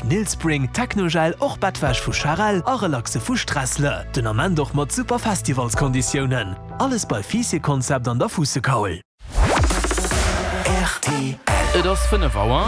Nilspring, Technogel, och Bettwäsch vu Charel a Relaxe vu Stressle. Den Ament och mat super Festivalskonditiounen. Alles bei Fiisseconcept an der Fuussekaul. Rtl. Et ass 5 Auer.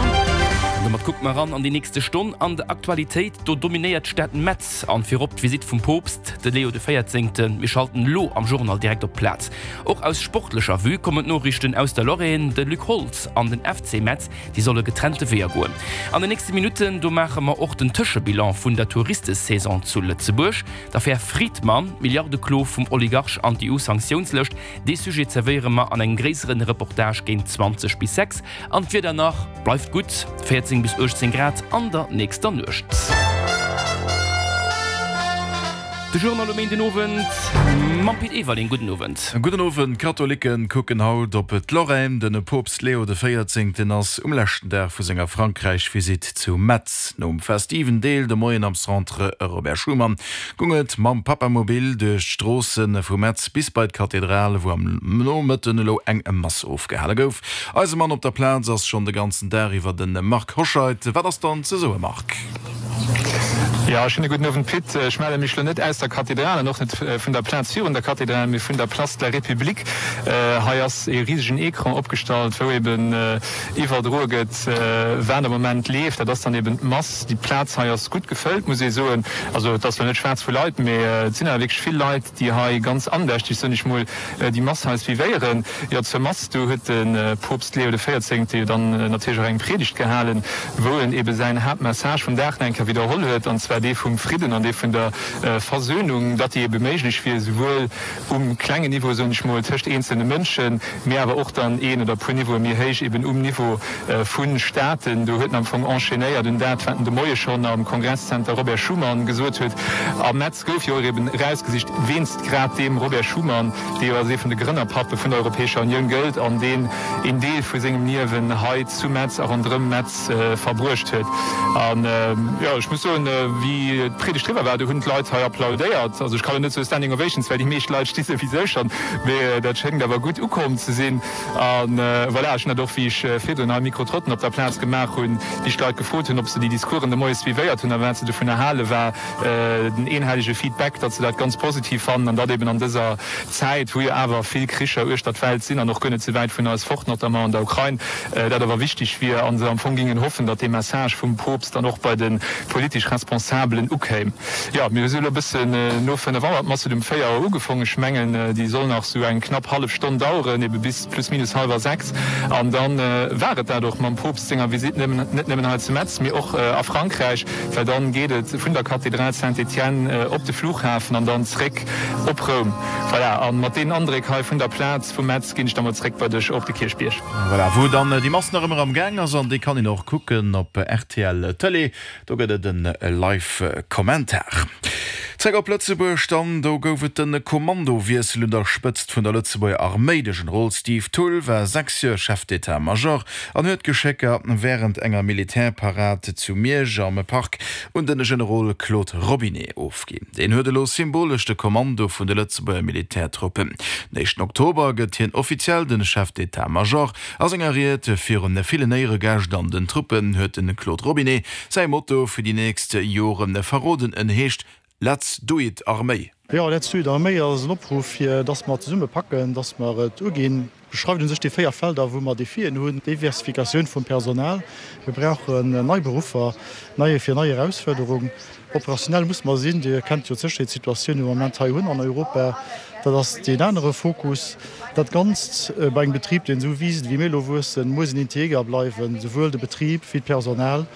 An domat kucke mer eran an déi nächste Stonn an der Aktualitéit. Do dominéiert d'Stad Metz an virop d'Visitt vum Poopst, de Leo de Véierzéngten. Mir schalten elo am Journal direkt op d'Plaz. Och aus sportlecher Vue kommen d'Noriichten aus der Lorraine. De Luc Holtz an den FC Metz Déi solle getrennte Weeër goen. An den nächste Minutten, do maache mer och den Tëschebilan vun der Touristesaison zu Lëtzebuerg, d'Affär Fridman, d'Milliardeklo vum Oligarch an d'EU-Sanktiounslëscht. Dee Sujet zerwéiere mer an engem gréisseren Reportage géint 20 bis 6. An d'Wieder nach bleift gutt, 14 bis 18 Grad an der nächster Nuecht. De Journal um Méindenowend mam Pit Everling. Gudden Owend. Gudden Owend. D'Katholicken kucken haut op d'Lorraine. Den Poopst Leo de Véierzéngten ass um leschten Dag vu senger Frankräich-Visitt zu Metz. Nom festiven Deel de Moien am Centre Robert Schuman gung et mam Papamobil duerch d'Stroosse vu Metz bis bei d'Kathedral, wou am Nomëtten elo eng Mass ofgehale gouf. Eise Mann op der Plaz ass schonn de ganzen Dag iwwer de Marc Hoscheid. Wat ass dann ze soe Marc? Jo, schéine gudden Owend Pit. Ech melle mech lo net aus der Kathedral an och net vun der Plaz virun der Kathedral, mee vun der Place de la République. Hei ass ee risegen Ecran opgestallt, wou eben iwwerdroe gëtt, wat am Moment leeft. Dat ass dann eben d'Mass. Déi Plaz hei ass gutt gefëllt, muss ee soen. Also et ass lo net schwaarz vu Leit, mee et sinn awer wierklech vill Leit, déi hei ganz andächteg, soen ech mol, déi Mass hei suivéieren. Jo, zur Mass, do huet de Poopst Leo de Véierzéngte jo dann natierlech och eng Priedegt gehalen, wou en ebe säin Haaptmessage vum Dag nach eng Kéier widderholl huet, an zwar dee vum Fridden an dee vun der Versöhnung, datt déi ebe méiglech wier, souwuel um klengen Niveau, soen ech mol, tëscht eenzelne Mënschen, mee awer och dann een oder e puer Niveaue méi héich, eben um Niveau vu Staaten. Do huet en am Fong enchaînéiert un dat, wat en de Moie schonn am Kongresszenter Robert Schuman gesot huet. A Metz gouf jo och eben erausgesicht wéinst grad deem Robert Schuman, dee jo als ee vun de Grënnerpappe vun der Europäescher Unioun gëllt an deen een Deel vu sengem Liewen hei zu Metz a ronderëm Metz verbruecht huet. An jo, ech muss soen, wéi d'Priedegt eriwwer war, do hunn d'Leit hei applaudéiert. Also ech kann elo net soe Standing Ovations, well déi meescht Leit sti souwisou schonn, mee dat schéngt awer gutt ukomm ze sinn. A voilà, ech hunn dat och, wéi ech virdrun hei Mikro-Trotten op der Plaz gemaach hunn, wéi ech d'Leit gefrot hunn, ob se déi Discoursen de Moie suivéiert hunn a wat se dovunner halen, war den eenhellige Feedback, datt se dat ganz positiv fannen an datt eben an dëser Zäit, wou jo awer vill Kricher uechter d'Welt sinn an och guer net sou wäit vun eis fort, notamment an der Ukrain, dat awer wichteg wier a se am Fong gingen hoffen, datt dee Message vum Poopst dann och bei de politesch Responsabelen ukéim. Jo, mir hu elo e bëssen no 5 Auer, d'Mass huet um 4 Auer ugefongen, ech mengen déi soll nach sou eng knapp hallef Stonn daueren, ebe bis plus minus hallwer 6 an da war et dat och mam Poopst senger Visitt, net nëmmen hei zu Metz, mee och a Frankräich. Well dann geet et vun der Kathedral Saint-Étienne op de Flughafen an dann zréck op Roum. Voilà, an mat deenen Andréck hei vun der Plaz vu Metz ginn ech da mol zréck bei dech op de Kierchbierg. Voilà, wou dann déi Mass nach ëmmer am Gaang ass an déi kann een och kucken op rtl Tëlee. Do gëtt et en Live Kommentar. Zréck op Lëtzebuerg dann, do gouf et de Kommandowiessel un der Spëtzt vun der Lëtzebuerger Arméi. De Generol Steve Thull war 6 Joer Chef d'État-Major an huet d'Geschécker wärend enger Militärparad zu Miersch am Park un de Generol Claude Robinet ofginn. Deen huet elo symbolesch de Kommando vun de Lëtzebuerger Militärtruppen. Den éischten Oktober gëtt hien offiziell de Chef d'État-Major. A senger Ried virun villen Éieregäscht an den Truppen huet de Claude Robinet säi Motto fir déi nächst Jore verroden. En heescht Let's do it Arméi! Jo, Let's do it Arméi ass en Opruff fir dass mer zesumme packen, dass mer et uginn. Beschreift un sech déi 4 Felder, wou mer Defien hunn, Diversifikatioun vum Personal, mir brauchen nei Beruffer, nei fir nei Erausfuerderung, operationell muss mer sinn, Dir kennt jo d'Sécherheetssituatioun, déi mer am Moment hei hunn an Europa, dat ass deen anere Fokus. Dat Ganzt bei engem Betrib, deen esou wiisst wéi mir elo wuessen, muss en integer bleiwen, souwuel de Betrib wéi d'Personal.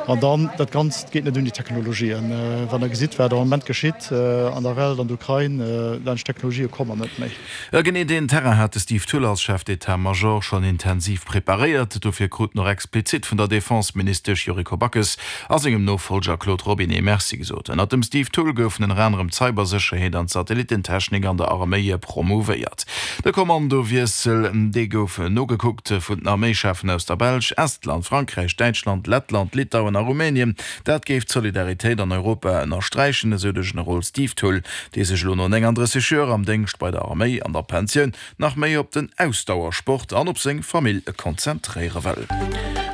An dann, dat Ganzt geet net ouni Technologien. Wann Der gesitt, wat am Moment geschitt an der Welt, an der Ukrain, laanscht Technologië komme mer net méi. Genee deen Terrain hat de Steve Thull als Chef d'État-Major schonn intensiv preparéiert. Dofir krut en och explizit vun der Defense-Ministesch Yuriko Backes a sengem Nofollger Claude Robinet Merci gesot. Ënnert dem Steve Thull goufen ënner anerem d'Cybersécherheet an d'Satellitentechnik an der Arméi promouvéiert. De Kommandowiessel, dee gouf nogekuckt vun den Arméischeffen aus der Belsch, Estland, Frankräich, Däitschland, Lettland, Litauen a Rumänien. Dat géif d'Solidaritéit an Europa ënnersträichen, esou de Generol Steve Thull, dee sech elo no 39 Joer am Déngscht bei der Arméi an der Pensioun nach méi op den Ausdauersport an op seng Famill konzentréiere wëll.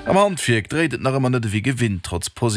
Am Handwierk dréit et nach ëmmer net ewéi gewinnt, trotz.